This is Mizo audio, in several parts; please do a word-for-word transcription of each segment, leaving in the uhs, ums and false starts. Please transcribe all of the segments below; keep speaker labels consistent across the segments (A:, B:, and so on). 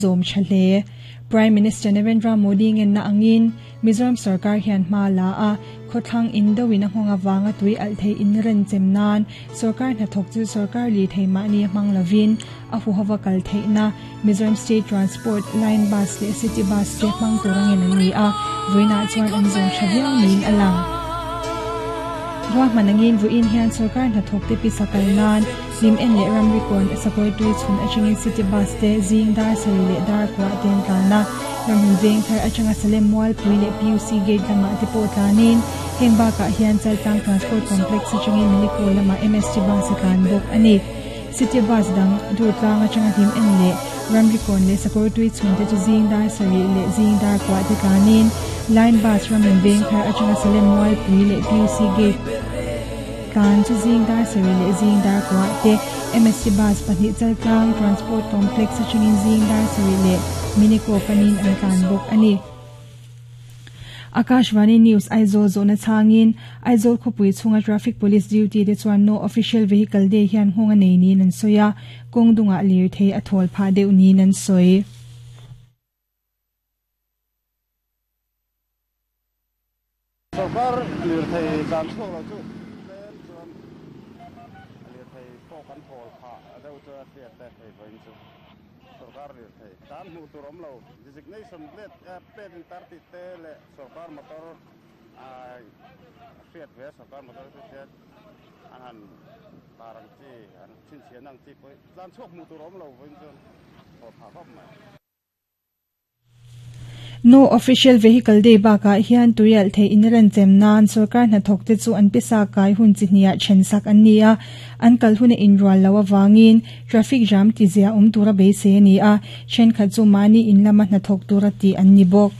A: Zom chale Prime Minister Narendra Modi ngen na angin Mizoram sarkar hian hma la a khothlang indowin a nghonga wanga tui al thei in ren chemnan sarkar na thok chu sarkar li thei ma ni hmang lovin a hu hawa kal thei na Mizoram State Transport Line Bus le City Bus te hmang turangin an ni a voina chuan an zom thaviang nin alang ruah manangin vuin hian sarkar na thok te pisakal nan lim en le ram rikon sakoi tui chhun achangin city bus te zing dar sari le dar kwa ten tlana ramhun veng thar achanga salem mual pui le P U C gate lama te pawh tlanin heng bakah hian Chaltlang Transport Complex achangin Minikol lama M S T bus a tlan bawk ani city bus dang dur tlang achanga hlim en le ram rikon le sakoi tui chhun te chu zing dar sari le zing dar kwa te tlanin line bus ramhun veng thar achanga salem mual pui le P U C gate kan chu zing dar sari le zing dar kwa te M S T bus pahnih Chaltlang Transport Complex achangin zing dar sari le Miniko panin an tlan bawk ani Akashvani News Aizawl zona changin Aizawl khawpui chhunga traffic police duty te chuan no official vehicle day hian nghawng a nei niin an sawi a kawng dungah lir thei a thawl phah deuh niin an sawi.
B: Sarkar lir thei tlan chhuak lo chu tlem chuan lir thei pawh kan thawl phah deuh chu a hriat te hei vawiin chu sarkar lir thei tlan hmuh tur awm lo designation plate plate in tar tih te leh sarkar motor a hriat ve sarkar motor chu hriat an han tar ang chi an chhinchhian ang chi pawh tlan chhuak hmuh tur awm lo vawiin chuan thawl phah khawp mai.
A: No official vehicle day bakah hian tuial thei in ren chem nan sarkar hna thok te chu an pisa kai hun chi hnia thensak an ni a an kal hun in rual lo awangin traffic jam ti zia um tura be se ni a then kha chu mani in lama hna thok tura ti an ni bawk.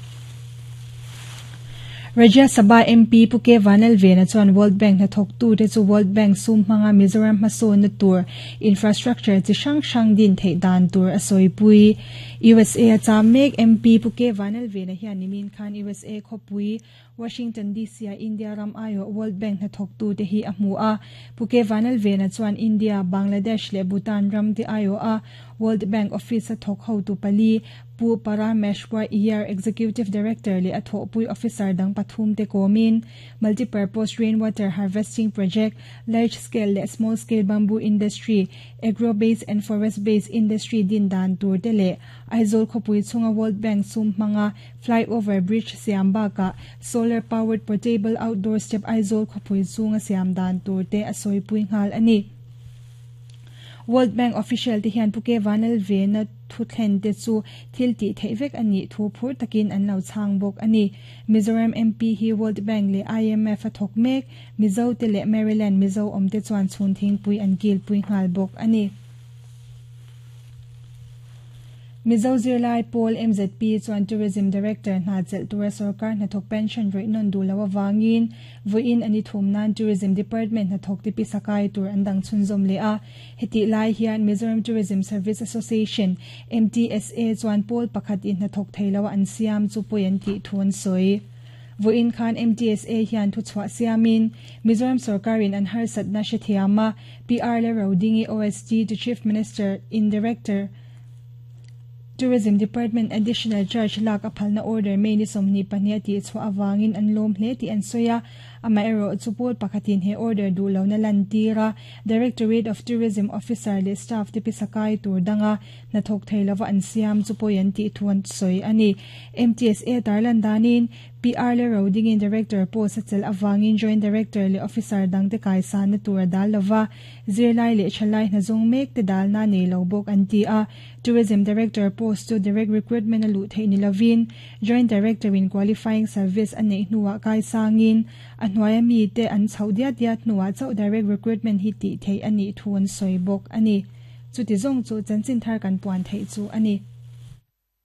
A: Rajya Sabha M P Puke Vanal Vena chuan World Bank na thok tu te chu World Bank sum hmanga Mizoram hmasawn na tur infrastructure chi hrang hrang din theih dan tur a sawi pui. U S A a cham mek M P Puke Vanal Vena hian nimin khan U S A khawpui Washington D C a India ram aio World Bank na thok tu te hi a hmu a Puke Vanal Vena chuan India, Bangladesh le Bhutan ram te aio a World Bank office a thok ho tu pali Pu Parameshwar Iyer Executive Director le a thawhpui officer dang pathum te komin multipurpose rainwater harvesting project large scale le small scale bamboo industry agro based and forest based industry din dan tur te le Aizawl khawpui chhunga World Bank sum hmanga flyover bridge siam baka solar powered portable outdoor step Aizawl khawpui chhunga siam dan tur te a sawipui nghal ani. World Bank official te hian Puke Vanal Vena thu thlen te chu thil ti theih vek ani thu phur takin an lo chang bawk ani. Mizoram M P hi World Bank le I M F a thawk mek Mizo te le Maryland Mizo awm te chuan chhun thingpui an kil pui nghal bawk ani. Mizo Zirlai Pawl M Z P chuan Tourism Director hna chelh tura sarkar hnathawk pension rei nawn duh lo awangin vawiin ani thum nan Tourism Department hnathawk te pisakai tur an dang chhunzawm leh a heti lai hian Mizoram Tourism Service Association M T S A chuan pawl pakhat in hnathawk thei lo an siam chu pawi an tih thu an sawi. Vawiin khan M T S A hian thu chhuah siamin Mizoram sarkarin an harsat na hrethiama P R le Rodingi O S D to Chief Minister in Director Tourism Department Additional Charge lak a phalna order mei ni sawmhnih pahnih ti chhuah awangin an lawm hle tih an sawi a amah erawh chu pawl pakhatin he order duh lo na lan tira Directorate of Tourism Officer le staff te pisakai tur danga hnathawk thei lova an siam chu pawi an tih thu an sawi ani. M T S A tarlan danin P R le Rodingin Director post a chel awangin Joint Director le Officer dang te kaisan na tur dal lova zirlai le thalai hnazung mek te dal na nei lo bawk an ti a Tourism Director post to direct recruitment a luh theih ni lovin Joint Director in qualifying service a nei hnuah kai sangin a hnuaia mi te an chho diat diat hnuah chauh direct recruitment hi tih theih ani thu an sawi bawk ani. Chuti zawng chu chanchin thar kan puan theih chu ani.